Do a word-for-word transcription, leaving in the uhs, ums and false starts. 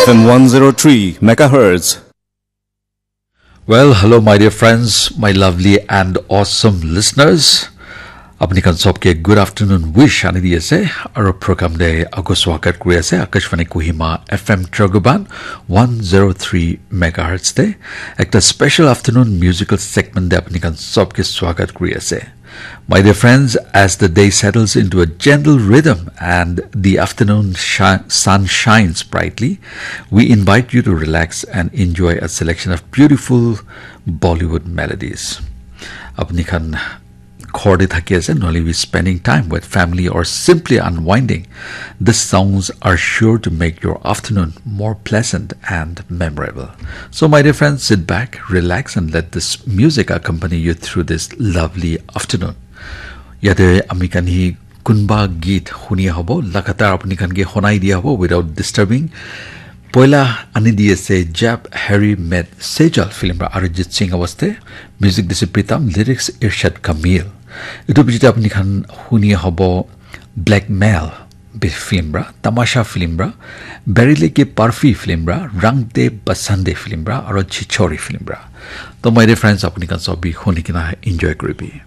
F M one zero three megahertz. Well, hello, my dear friends, my lovely and awesome listeners. Apni khan sobke good afternoon wish ani di ase. Aro program de ago swagat kuri ase Akashvani Kohima F M Tragoban one zero three megahertz de. Ekta special afternoon musical segment de apni khan sobke swagat kuri ase. My dear friends, as the day settles into a gentle rhythm and the afternoon shi- sun shines brightly, we invite you to relax and enjoy a selection of beautiful Bollywood melodies. Apni khan ghor te thaki ase, nohole we spending time with family or simply unwinding, these songs are sure to make your afternoon more pleasant and memorable. So, my dear friends, sit back, relax, and let this music accompany you through this lovely afternoon. Yate ami khan hi kunba geet huni hobo, lagatar apni khan ke honai dia hobo without disturbing. Poila ani di ase Jab Harry Met Sejal film ra Arijit Singh awaste, music dise Pritam, lyrics Irshad Kamil. Itu bichite apni khan huni hobo Blackmail bi- film ra, Tamasha film ra, Berile Ke Parfi film ra, Rang De Basande film ra, aro Chichori film ra. To my dear friends, apni khan sobi huni kena enjoy kuribi.